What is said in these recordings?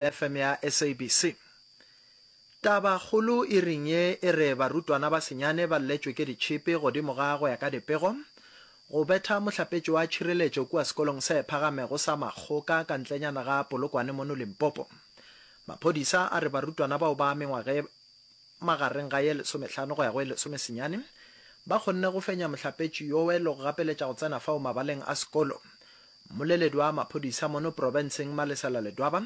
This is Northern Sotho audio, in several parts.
FM ya SABC. Tabakgolo iring ye e re barutwana ba senyane ba lletšwe ke ditšhipi godimo ga go ya ka dipego go betha mohlapetši wa tšhireletšo kua sekolong se phagamego sa Makgoka ka ntlenyana ga Polokwane mono Limpopo. Maphodisa a re barutwana bao ba mengwaga e magareng ga ye lesomehlano go ya go ye lesomesenyane ba kgonne go fenya mohlapetši yowe le go gapeletša go tsena fao mabaleng a sekolo. Mmoleledi wa maphodisa mono profenseng Malesela Ledwaba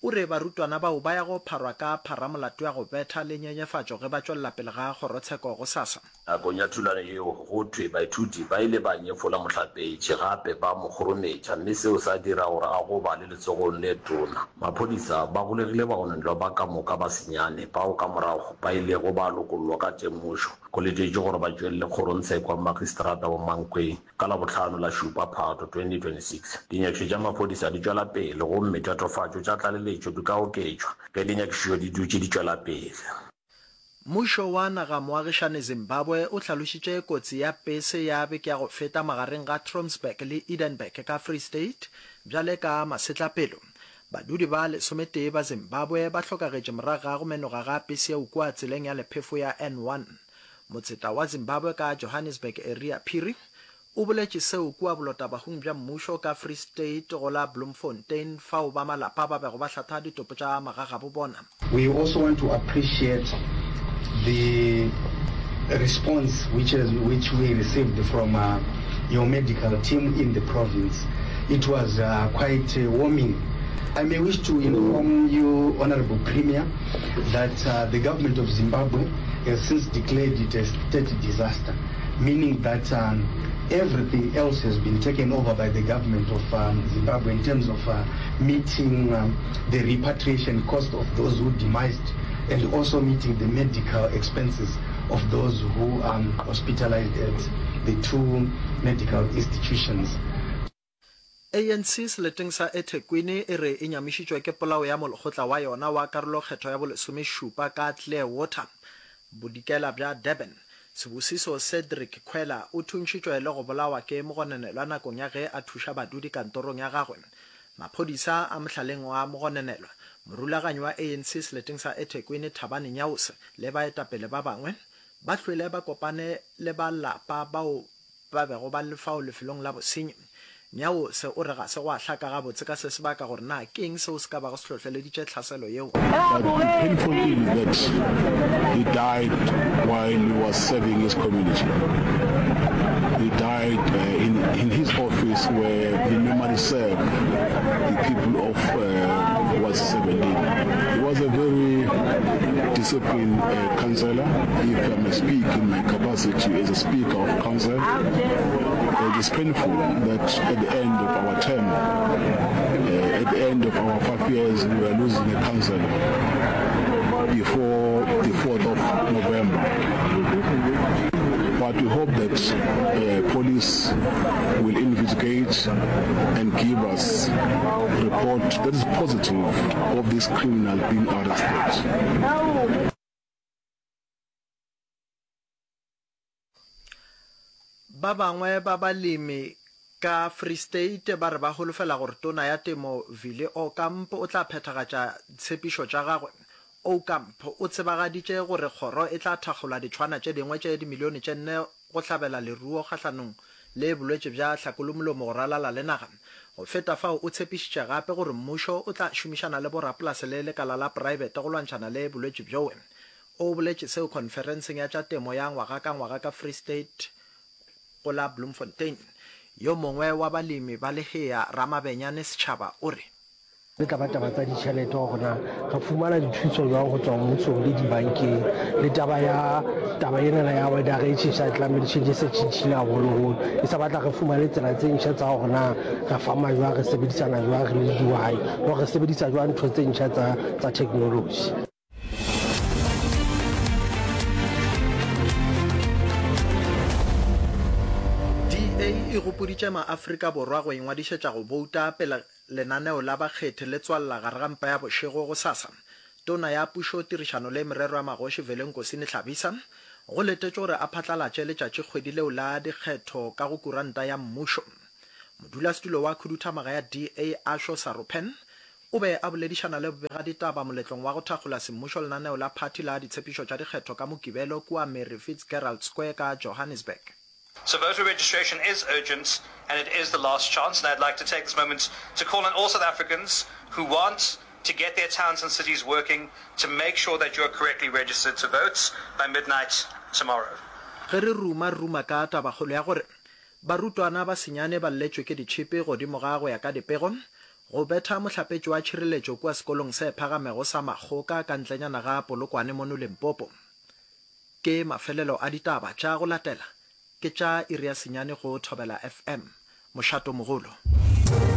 o re barutwana bao ba ya go pharwa ka pharamolato ya go betha le nyenyefatšo ge ba tšwelela pele ga kgorotsheko gosasa. Nakong ya thulano yeo, go thwe baithuti ba ile ba nyefola mohlapetši gape ba mo kgorometša mme seo sa dira gore a gobale letsogong le tona. Maphodisa ba golegile bagononelwa ba ka moka ba senyane bao ka morago ba ilego ba lokollwa ka temošo. Go letetšwe gore ba tšwelele kgorongtsheko ya Magistrata wa Mankweng Ka Labohlano la šupa Phato 2026, dinyakišišo tša maphodisa di tšwela pele gomme tatofatšo tša tlaleletšo di ka oketšwa ge dinyakišišo di dutše di tšwela pele. Mmušo wa naga moagišane Zimbabwe o hlalošitše kotsi ya pese ya beke ya go feta magareng ga Trompsburg le Edenburg ka Free State bjale ka masetlapelo. Badudi ba lesometee ba Zimbabwe ba hlokagetše morago ga go menoga ga pese yeo kua tseleng ya lephefo ya N1. Motseta wa Zimbabwe ka Johannesburg Eria Phiri o boletše seo kua bolotabahung bja mmušo ka Free State go la Bloemfontein fao ba malapa ba bego ba hlatha ditopo tša magagabo bona. We also want to appreciate the response which has, which we received from uh, your medical team in the province. It was uh, quite uh, warming. I may wish to inform you, Honorable Premier, that uh, the government of Zimbabwe has since declared it a state disaster, meaning that um, everything else has been taken over by the government of um, Zimbabwe in terms of uh, meeting um, the repatriation cost of those who demised and also meeting the medical expenses of those who are um, hospitalized at the two medical institutions. ANC seleteng sa eThekwini e re e nyamišitšwe ke polao ya molekgotla wa yona wa karolokgetho ya bolesomešupa ka Clearwater, bodikela bja Durban. Sibusiso Cedric Khwela o thuntšhitšwe le go bolawa ke mogononelwa nakong ya ge a thuša badudi kantorong ya gagwe. Maphodisa a mohlaleng wa mogononelwa, morulaganyi wa ANC seleteng sa eThekwini Thabani Nyawose le baetapele ba bangwe ba hlwele ba kopane le ba lapa bao ba bego ba le fao lefelong la bosenyi. Nyawose o re ga se gwa hlaka gabotse ka se sebaka gore na ke eng seo se ka bago se hlohleleditše tlhaselo yeo. But the painful thing is that he died while he was serving his community. He died uh, in, in his office where he normally served the people of uh, Ward 17. He was a very disciplined uh, councillor, if I may speak in my capacity as a speaker of council. It is painful that at the end of our term, uh, at the end of our five years, we are losing a councillor before the 4th of November. But we hope that uh, police will investigate and give us report that is positive of this criminal being arrested. Ba bangwe ba balemi ka Free State ba re ba holofela gore Tona ya Temo Vili Aucamp o tla phethagatša ditshepišo tša gagwe. Aucamp o tsebagaditše gore kgoro e tla thakgola ditšhwana tše dingwe tše dimilione tše nne go hlabela leruo kgahlanong le bolwetši bja hlakolomolomo go ralala le naga. Go feta fao o tshepišitše gape gore mmušo o tla šomišana le borapolase le lekala la praebete go lwantšhana le bolwetši bjoe. O boletše seo khonferenseng ya tša temo ya ngwaga ka ngwaga ka Free State go la Bloemfontein. Yo mongwe wa balemi ba lehea, Ramabenyane Setšhaba o re. E tla ba taba tsa ditšhelete gore na re fumana dithuso jwang go tswa mmusong le dibankeng le taba ya taba enana ya weather e tšhentšha climate change e se tšhentšhile haholoholo e sa batla re fumane tsela tse ntšha tsa gore na re fama jwang re sebedisana jwang re le dihwai gore re sebedisa jwang ntho tse ntšha tsa tsa technology. DA e gopoditše maAfrika Borwa go ingwadišetša go bouta pele lenaneo la bakgethi le tswalela gare ga mpa ya bošego gosasa. Tona ya Pušo, Tirišano le Merero ya Magoši Velenkosini Hlabisa go letetšwe gore a phatlalatše letšatšikgwedi leo la dikgetho ka go kuranta ya mmušo. Modulasetulo wa khuduthamaga ya DA Asho Sarupen. O be a boledišana le bobegaditaba moletlong wa go thakgola semmušo lenaneo la phathi la ditshepišo tša dikgetho ka Mokibelo kua Mary Fitzgerald Square ka Johannesburg. So voter registration is urgent and it is the last chance and I'd like to take this moment to call on all South Africans who want to get their towns and cities working to make sure that you are correctly registered to vote by midnight tomorrow. Ge re ruma, re ruma ka tabakgolo ya gore barutwana ba senyane ba lletšwe ke ditšhipi godimo ga go ya ka dipego go betha mohlapetši wa tšhireletšo kua sekolong se phagamego sa Makgoka ka ntlenyana ga Polokwane mono Limpopo. Ke mafelelo a ditaba tša go latela ke tša iri ya senyane go Thobela FM, mošatomogolo.